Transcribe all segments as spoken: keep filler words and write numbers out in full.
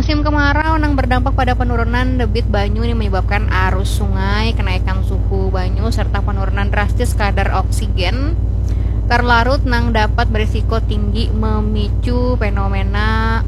Musim kemarau nang berdampak pada penurunan debit banyu ini menyebabkan arus sungai, kenaikan suhu banyu, serta penurunan drastis kadar oksigen terlarut nang dapat berisiko tinggi memicu fenomena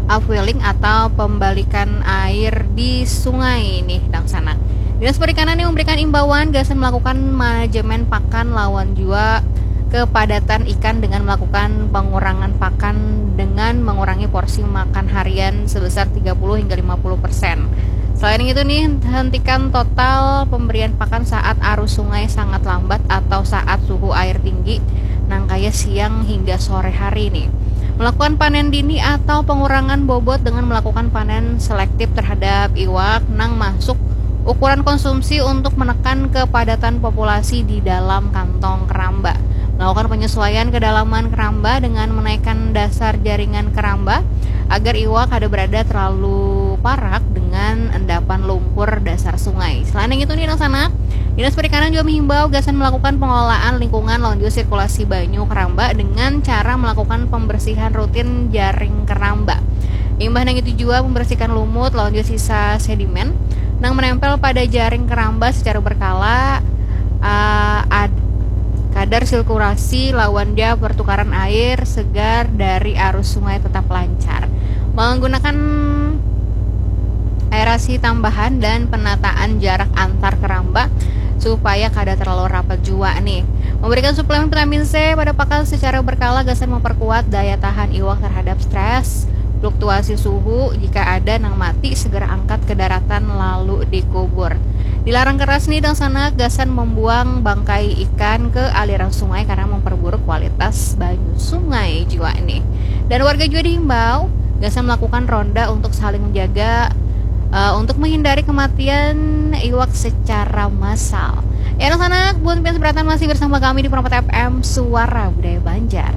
upwelling atau pembalikan air di sungai nih, Dangsanak. Dinas Perikanan yang memberikan imbauan gasan melakukan manajemen pakan lawan jua kepadatan ikan dengan melakukan pengurangan pakan dengan mengurangi porsi makan harian sebesar tiga puluh hingga lima puluh persen. Selain itu nih, hentikan total pemberian pakan saat arus sungai sangat lambat atau saat suhu air tinggi, nang kaya siang hingga sore hari nih. Melakukan panen dini atau pengurangan bobot dengan melakukan panen selektif terhadap iwak nang masuk ukuran konsumsi untuk menekan kepadatan populasi di dalam kantong keramba. Melakukan penyesuaian kedalaman keramba dengan menaikkan dasar jaringan keramba agar iwak kada berada terlalu parak dengan endapan lumpur dasar sungai. Selain itu nih, Dangsanak, Dinas Perikanan juga menghimbau gasan melakukan pengelolaan lingkungan lawan juga sirkulasi banyu keramba dengan cara melakukan pembersihan rutin jaring keramba. Imbah nang itu jua membersihkan lumut lawan juga sisa sedimen nang menempel pada jaring keramba secara berkala, uh, ad, kadar sirkulasi lawan dia pertukaran air segar dari arus sungai tetap lancar. Menggunakan aerasi tambahan dan penataan jarak antar keramba supaya kada terlalu rapat jua nih. Memberikan suplemen vitamin C pada pakan secara berkala gasan memperkuat daya tahan iwak terhadap stres, fluktuasi suhu, jika ada nang mati segera angkat ke daratan lalu dikubur. Dilarang keras nih, Dangsanak, gasan membuang bangkai ikan ke aliran sungai karena memperburuk kualitas banyu sungai jua nih. Dan warga juga dihimbau gasan melakukan ronda untuk saling menjaga, uh, untuk menghindari kematian iwak secara massal. Ya, Dangsanak, buat pian seberatan masih bersama kami di Permata F M, Suara Budaya Banjar.